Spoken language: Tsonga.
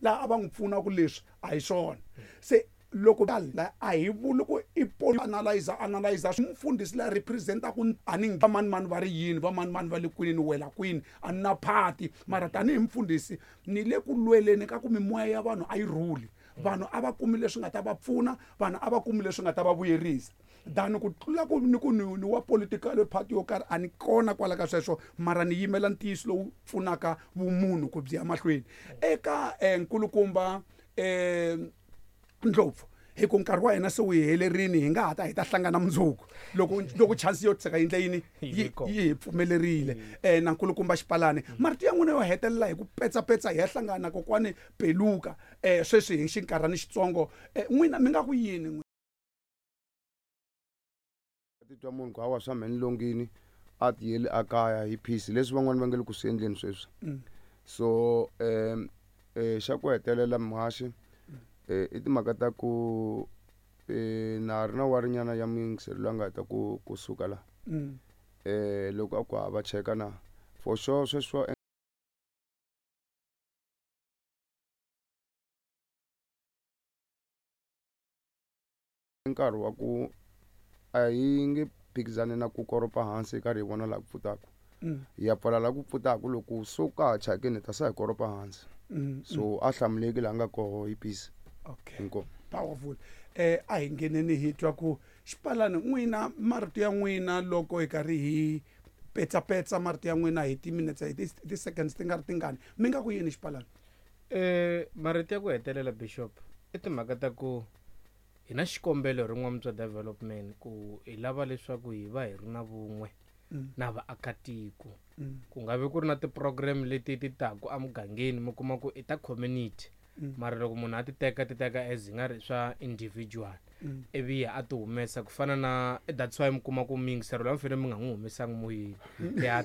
Laha a va n'wi pfuna ku leswi a hi swona. Se loko la a hi vuli ku i analyzer analyzer mufundhisi la representaku a ni va mani mani va ri yini, va mani mani va le kwini, ni wela kwini, a ni na party. Mara tanihi mufundhisi ni le ku lweleni ka ku mimoya ya vanhu a yi rhuli, vanhu a va kumi leswi nga ta va pfuna, vanhu a va kumi leswi nga ta va vuyerisa. Than ku tlula ku ni ku ni wa political party yo karhi, a ni kona kwala ka sweswo, mara ni yimela ntiyiso lowu pfunaka vumunhu ku byi ya mahlweni. Eka nkulukumba Ndlopfu, hi ku nkarhi wa hina se wu hi helerini, hi nga ha ta hi ta hlangana mundzuku loko chance yo tshika yindle yini yi hi pfumelerile. Na nkulukumba Xipalani, marito ya n'wina yo hetelela hi ku petsapetsa hi ya hlangana kokwani Peluka sweswi hi xinkarhani xitsongo, n'wina mi nga ku yini n'wina? Titwa munhu ku hawa swa mhe ni longini a tiyeli a kaya hi peace, leswi van'wani va nge le ku swi endleni sweswi. So xa ku hetelela muhaxi, i timhaka ta ku na ha ri na warinyana ya muyingiseri loyi a nga heta kusuka la. Loko a ku ha va cheka na for sure sweswi wa nkarhi wa ku a hi nge phikizani na ku koropa hansi hi karhi hi vona laha ku pfutaka. Hi ya pfala laha ku pfutaka, loko so ka ha thyakini hi ta se hi koropa hansi. So a hlamuleki laha nga koho hi peace. Okay. Inkomu. Powerful. A hi ngheneni hi twa ku Xipalani n'wina marito ya n'wina loko hi karhi hi petsapetsa marito ya n'wina hi ti-minutes, hi ti-seconds ti nga ri tingani, mi nga ku yini Xipalani? Marito ya ku hetelela Bishop i timhaka ta ku hi na xikombelo hi ri N'wamutswa Development ku hi lava leswaku hi va hi ri na vun'we na vaakatiko. Ku nga vi ku ri na ti-program leti ti taku emugangeni mi kuma ku i ta community, mara loko munhu a ti teka, ti teka as hi nga ri swa individual, ivi ya a ti humesa ku fana na, that's why mi kuma ku miyingisero loyi mi fanele mi nga n'wi humesangi moyeni. Ya.